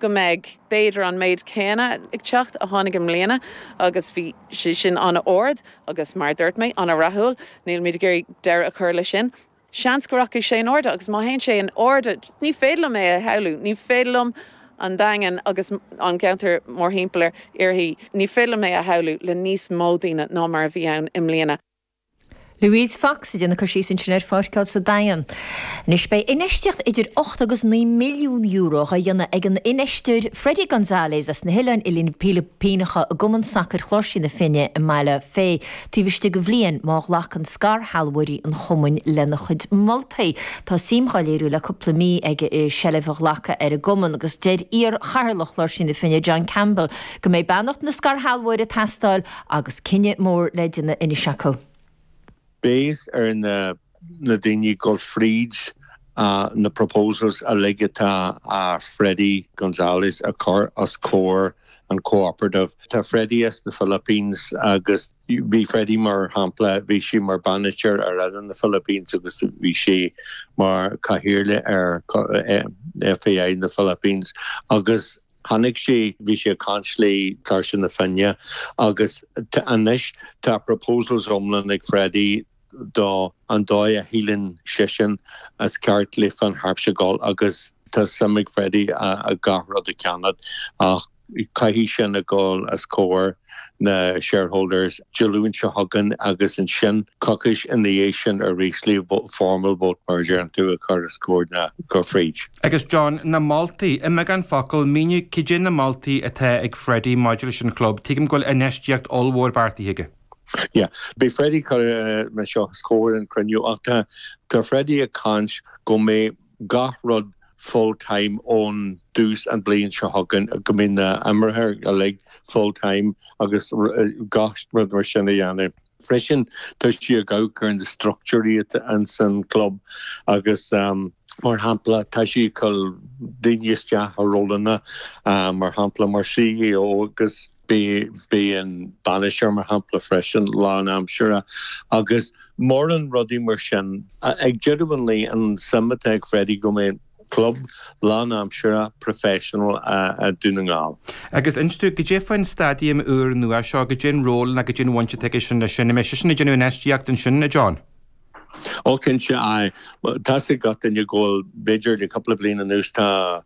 go mbeidh b'fhéidir an méid céanna ag teacht a tháinig i mbliana agus bhí sé sin an-ard agus mar a dúirt mé, an-rathúil. Nílimid ag iarraidh deireadh a chur leis sin. Seans go rachaidh sé in airde agus má théann sé in airde, ní féidir liom é a shamhlú, ní féidir liom an Daingean agus an ceantar mórthimpeall uirthi, ní féidir liom é a shamhlú le níos mó daoine ná mar a bhí ann i mbliana. Louise Fox ag déanamh cur síos ansin ar pháirceáil sa Daingean. Anois beidh infheistíocht idir 8 agus 9 milliún euro á dhéanamh ag an infheisteoir Freddie Gonzalez as na hOileáin Fhilipíneacha i gCumann Sacair Chláirsí na Finne i mBaile Féith taobh istigh de bhliain má ghlacann scairshealbhóirí an chumainn lena chuid moltaí. Tá suim dhá léiriú le cúpla mí aige i seilbh a ghlacadh ar an gcumann agus deir iar-chathaoirleach Chláirsí na Finne John Campbell go mbeidh beannacht na scairshealbhóirí ag teastáil Agus cinneadh mór le déanamh anois acu. Beidh ar na daoine dul fríd na proposals uilig atá Freddie Gonzalez a chur os comhair an cooperative. Tá Freddie as na Philippines agus bhí Freddie mar shampla, bhí sé mar bainisteoir ar fhoireann na Philippines agus bhí sé mar cathaoirleach ar FAI na Philippines agus Tháinig sé, bhí sé ag caint le Cláirsigh na Finne agus anois tá proposals iomlán ag Freddie do an dóigh a shíleann seisean is ceart le Finn Harps a dhul agus tá suim ag Freddie gach rud a cheannacht ach caithfidh sin a dhul os comhair na shareholders Dé Luain seo chugainn agus ansin coicís ina dhiaidh sin arís le formal vote mar a deireann tú a chur os comhair na go fríd. Agus John, na moltaí, i mbeagán focal, mínigh cad é na moltaí atá ag Freddie maidir leis an chlub. Tuigim go bhfuil infheistíocht ollmhór beartaithe aige. Yeah. Beidh Freddie ag cur na seo os comhair an cruinniú ach tá tá Freddie ag caint go mbeidh gach rud full time ón dtús an bliain seo chugainn, go mbeidh na imreoirí uilig full time agus gach rud mar sin a dhéanamh. Freisin tá sé ag amharc ar na structúirí atá ins an club agus mar shampla tá sé ag cur daoine isteach i rólanna mar shampla mar CEO agus beidh an bainisteoir mar shampla freisin lánaimseartha agus mórán rudaí mar sin. Ag deireadh an lae an suim atá ag Freddie go mbeidh club lánaimseartha professional i Dún na nGall. Agus inis dúinn, goidé faoin staidiam úr nua seo, goidé an ról nó goidé an bhaint atá aige sin leis sin, an mbeidh seisean ag déanamh infheistíocht ansin, a John? Ó cinnte, aye. Tá's ag gach duine go bhfuil, b'fhéidir le cúpla bliain anuas tá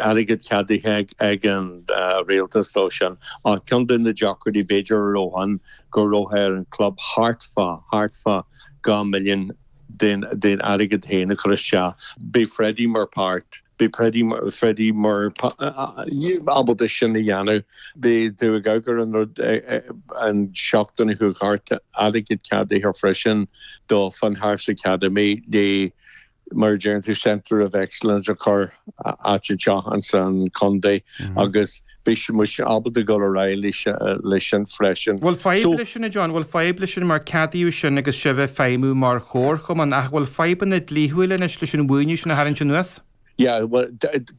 airgead ceadaithe ag an rialtas dó sin. Ach ceann de na deacrachtaí b'fhéidir a raibh ann go raibh ar an club thart fá, thart fá 2 milliún den airgead féin a chur isteach. Beidh Freddie mar páirt, beidh Freddie mar ábalta sin a dhéanamh. Beidh tú ag amharc ar an rud an seachtain a chuaigh thart, airgead ceadaithe freisin do Finn Harps Academy le mar a deireann tú Centre of Excellence a chur áit anseo insan chontae agus beidh muid ábalta dul ar aghaidh leis sin freisin. Bhfuil fadhb leis sin, a John? Bhfuil fadhb leis sin mar ceadaíodh sin agus sibh ag feidhmiú mar chomharchumann ach bhfuil fadhbanna dlíthiúila anois leis an mhaoiniú sin a tharraingt anuas? Yeah, bhuel,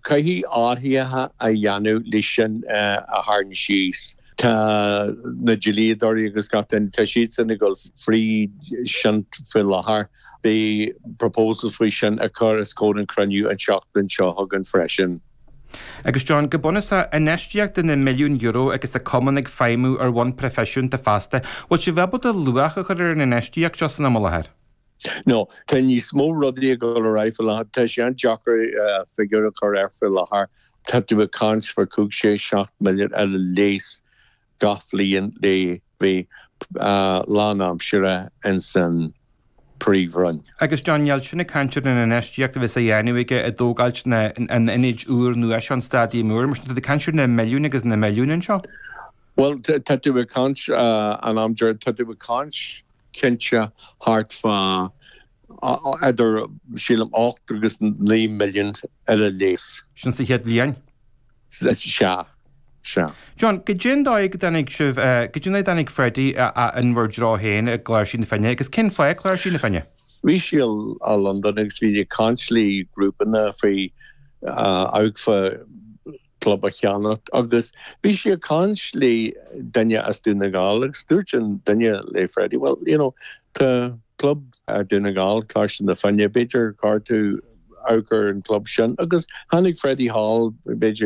caithfidh athruithe a dhéanamh leis sin a tharraingt síos. Tá na dlíodóirí agus gach duine, tá siadsan ag dul fríd sin faoi láthair. Beidh proposals faoi sin a chur os comhair an chruinniú an tseachtain seo chugainn freisin. Agus John, go bunúsach, infheistíocht de na milliúin euro agus an cumann ag feidhmiú ar bhonn proifisiúnta feasta, bhfuil sibh ábalta luach a chur ar an infheistíocht seo san am i láthair? No, tá níos mó rudaí ag dul ar aghaidh faoi láthair. Tá sé an-deacair figiúr a chur air faoi láthair. Tá tú ag caint faoi 5, 6, 7 milliún ar a leas gach bhliain le bheith lánaimseartha ins an Príomhroinn. Agus John, níl sin ag caint ar an infheistíocht a bheas á dhéanamh aige i dtógáilt na an ionaid úr nua seo, an staidiam úr, mar sin tá tú ag caint ar na milliúin agus na milliúin anseo. Bhuel, tá tú ag caint an am deiridh, tá tú ag caint cinnte thart fá idir, sílim, 8 agus 9 milliún ar a leas. Sin sa chéad bhliain? Sea, sea. John, goidé an dóigh go dtáinig sibh, goidé an dóigh a dtáinig Freddie in bhur dtreo féin i gCláirsí na Finne agus cén fáth Cláirsí na Finne? Bhí sé i Londain agus bhí ag caint le grúpanna faoi amharc fá club a cheannacht agus bhí sé ag caint le duine as Dún na nGall agus dúirt an duine le Freddie, well, you know, tá club i Dún na nGall, Cláirsigh na Finne, b'fhéidir gur chóir tú amharc ar an club sin agus tháinig Freddie thall, b'fhéidir.